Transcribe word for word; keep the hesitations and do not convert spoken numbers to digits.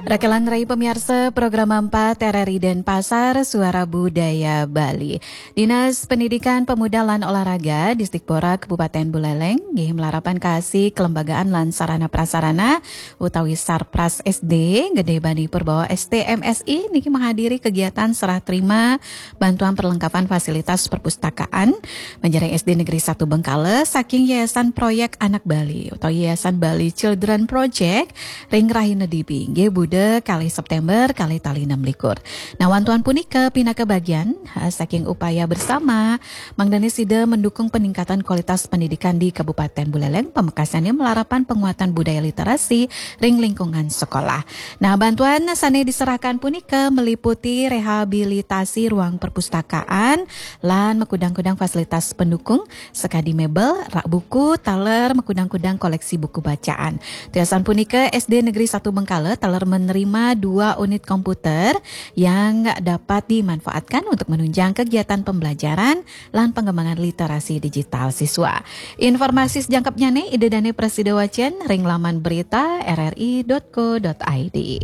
Rakelan rai pamiarsa program empat R R I Denpasar, Suara Budaya Bali. Dinas Pendidikan, Pemuda lan Olahraga Disdikpora Kabupaten Buleleng nggih malarapan ka asi kelembagaan lan sarana prasarana utawi Sarpras S D Gede Bani Purbawa S T M Si niki menghadiri kegiatan serah terima bantuan perlengkapan fasilitas perpustakaan menjereng S D Negeri satu Bengkale saking Yayasan Proyek Anak Bali utawi Yayasan Bali Children Project ring rahina Dibi nggih Buda kalih September kalih tali enam likur. Nah, wantuan punika pinaka bagian ha, saking upaya bersama mangdane sida mendukung peningkatan kualitas pendidikan di Kabupaten Buleleng, pamekasane malarapan penguatan budaya literasi ring lingkungan sekolah. Nah, bantuan sane diserahkan punika meliputi rehabilitasi ruang perpustakaan lan makudang-kudang fasilitas pendukung sakadi mebel, rak buku, taler makudang-kudang koleksi buku bacaan. Tiosan punika S D Negeri satu Bengkale taler menerima dua unit komputer yang dapat dimanfaatkan untuk menunjang kegiatan pembelajaran lan pengembangan literasi digital siswa. Informasi sejangkepnyane Ida Dane prasida wacen ring laman berita R R I dot co dot I D.